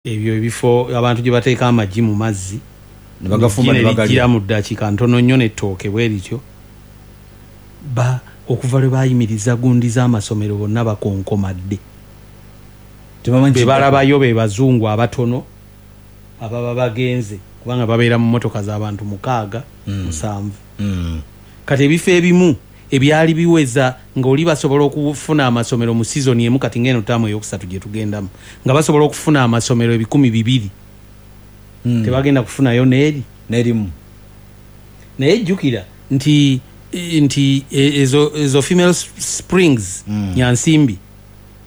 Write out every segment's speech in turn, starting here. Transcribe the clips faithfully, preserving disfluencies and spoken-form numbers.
Ebyo ebifo abantu gye bateeka amagi mu mazzi ne bagafumba ne bagalya mu ddakiika ntono nnyo n'ettooke bwe lityo. Ba okuva lwe baayimiriza gundi z'amasomero bonna bakonkomadde, be balabayo be bazungu abatono ababa bagenze, kubanga babeera mu mmotoka z'abantu mukaaga, musanvu. Mm. Kati ebifo ebimu ebyali biweza ng'oli basobola okufuna amasomero mu sizoni emu, kati ng'eno ttaamu eyokusatu gye tugendamu, nga basobola okufuna amasomero ebikumi bibiri, Mm. tebagenda kufunayo n'eri n'erimu. Naye jjukira nti nti ezo, ezo female springs, Mm. Nyansimbi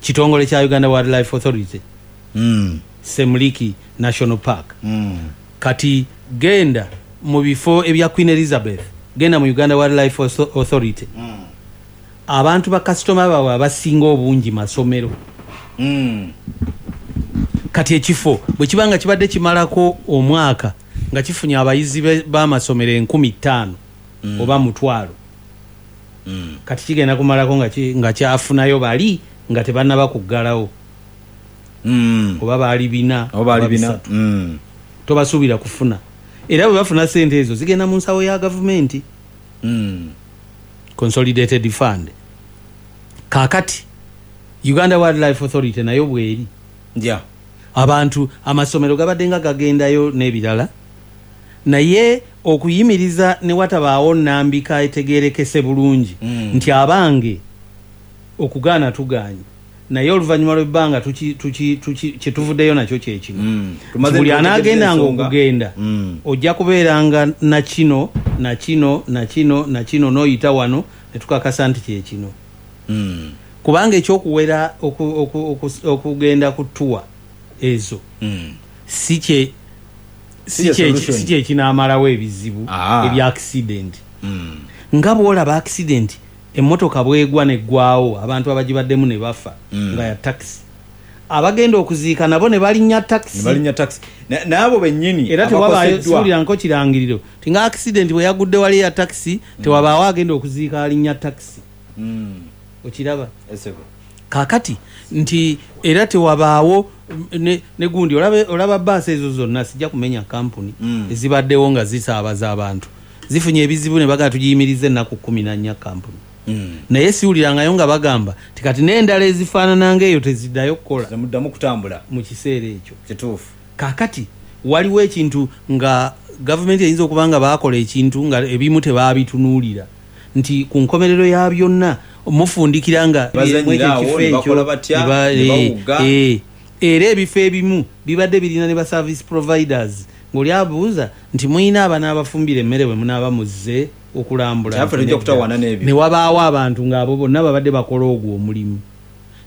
kitongole kya Uganda Wildlife Authority, Mm. Semliki National Park. Mm. Kati genda mu bifo ebya Queen Elizabeth, genda mu Uganda Wildlife Authority, Mm. abantu ba kasitoma baabwe abasinga obungi masomero. Mm. Kati ekifo bwe kiba nga kibadde kimalako omwaka nga kifunye abayizi b'amasomero enkumi ttaano Mm. oba mutwalo, Mm. kati kigenda kumalako nga ki, nga kyafunayo bali nga tebannaba kuggalawo. Mm. Oba baali bina, Oba baali oba bina. bisatu. Mm. Tobasuubira kufuna. Era bwe bafuna ssente ezo zigenda mu nsawo ya gavumenti. Mm. Consolidated Fund. Kaakati Uganda Wildlife Authority nayo bweri. Yeah. Abantu amasomero gabadde nga gagendayo n'ebirala, naye okuyimiriza ne watabaawo nnambika etegeerekese bulungi, Mm. nti abange okugaana tugaanye, naye oluvannyuma lw'ebbanga tuki, tuki, tuki, kye tuvuddeyo nakyo kye kino. Mm. Nti buli anaagendanga ensonga. okugenda, Mm. ojja kubeeranga na kino, na kino, na kino, na kino, n'oyita wano ne tukakasa nti kye kino. Mm. Kubanga ekyokuwera oku, oku, oku, okugenda ku ttuwa ezo, Mm. si kye, Si kye si kye, solution. si kye kinaamalawo ebizibu Ah. ebya accident. Mm. Nga bw'olaba accident, emmotoka bw'egwa n'eggwawo, abantu abagibaddemu ne bafa, Mm. nga ya taxi. Abagenda okuziika nabo ne balinnya taxi. Ne balinnya taxi. Na-, n'abo bennyini Era tewabaayo, abakoseddwa. siwulira nko kirangiriro. Nti nga accident bwe yagudde wali ya taxi, Mm. tewabaawo agenda okuziika alinnya taxi. Mm. Okiraba? Esebo. Kaakati nti era tewabaawo ne, ne gundi, olaba, olaba bbaasi ezo zonna, sijja kumenya kampuni, Mm. ezibaddewo nga zisaabaza abantu. Zifunye ebizibu ne bagamba tugiyimirize ennaku kkumi na nnya kampuni. Mm. Naye siwulirangayo nga bagamba nti kati n'endala ezifaanana ng'eyo teziddayo kukola. Zemuddamu kutambula. Mu kiseera ekyo. Kituufu. Kaakati waliwo ekintu nga gavumenti eyinza okuba nga baakola ekintu nga ebimu tebaabitunuulira, nti ku nkomerero ya byonna mufundikira nga Bazannyira mwekyo awo, ekifo ne ekyo, bakola batya, ne ba- ne bawuga. eh, era ebifo ebimu bibadde birina ne ba service providers, ng'oli abuuza nti mulina abanaabafumbira emmere bwe munaaba muzze okulambula. Kyaffe tujja kutawaana n'ebyo. Ne wabaawo abantu ng'abo bonna babadde bakola ogwo omulimu.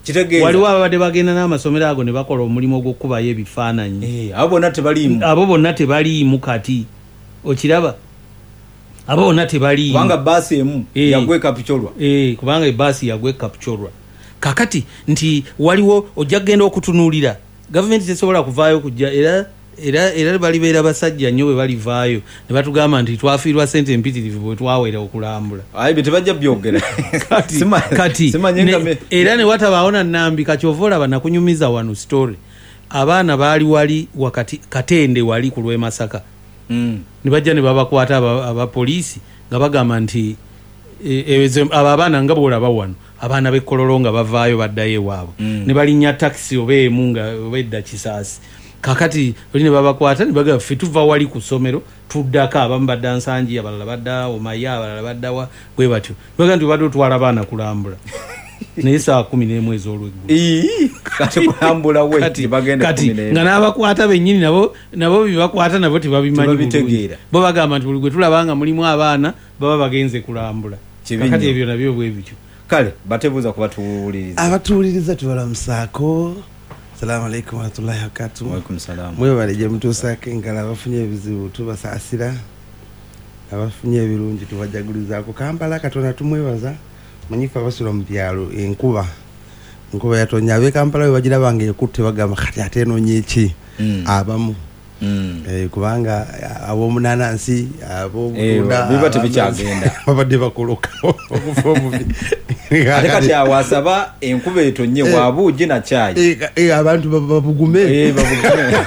Kitegeeza. Waliwo ababadde bagenda n'amasomero ago ne bakola omulimu ogw'okukubayo ebifaananyi. Eh, abo bonna tebaliimu. Abo bonna tebaliimu kati. Okiraba? Abo bonna tebaliimu. Kubanga bbaasi emu Eh. yagwa e Kapchorwa. Eh, kubanga ebbaasi yagwa e Kapchorwa. Kaakati nti waliwo ojja kugenda okutunuulira. Gavumenti tesobola kuvaayo kujja, era, era, era balibeera basajja nnyo bwe balivaayo ne batugamba nti twafiirwa ssente empitirivu bwe twawera okulambula. Ayi, bye tebajja byogera. Kati, Sima- kati, simanye nga ne, me- era ne watabaawo na nnambi, kati ova olaba nakunyumiza wano story. Abaana baali wali wakati Katende wali ku lw'e Masaka. Mm. Ne bajja ne babakwata aba-, abapoliisi nga bagamba nti, e, ezo, abo abaana nga bw'olaba wano, abaana b'e Kololo nga bavaayo baddayo ewaabwe. Mm. Ne balinnya takisi oba emu nga oba edda Kisaasi. Kaakati oli ne babakwata ne bagamba ffe tuva wali ku ssomero tuddako, abamu badda Nsangi, abalala badda Omaya, abalala badda wa, bwe batyo. Bagamba nti obadde otwala abaana kulambula. Naye ssaawa kkumi n'emu ez'olweggulo. Ii, kati kulambula we, Kati, tebagenda kati, kkumi n'emu. nga n'abakwata bennyini nabo, nabo bye bakwata nabo tebabimanyi bulungi. Tebabitegeera. Bo bagamba nti buli gwe tulaba nga mulimu abaana baba bagenze kulambula. Kibi Kakati nnyo. ebyo nabyo bwe bityo. Kale, batebuuza ku batuwuliriza. Abatuwuliriza tubalamusaako. Assalamu alaikum warahmatullahi wabarakatuh. Wa alaikum salam. Mwebale gye mutuusaako engalo, abafunye ebizibu tubasaasira, abafunye ebirungi tubajagulizaako. Kampala Katonda tumwebaza, manyi ffe abasula mu byalo enkuba, enkuba yatonnya. Ab'e Kampala bwe bagiraba nga ekutte bagamba kati ate enoonye ki? Mm. Abamu. Mm. Eh, kubanga ab'omunanansi, ab'obutunda, Eh, biba tebikyagenda. babadde bakoloka okufa obubi. Ate kati awo asaba enkuba etonye, wabuugi na kyayi. Eh, eh, abantu babugume. Eh, babugume.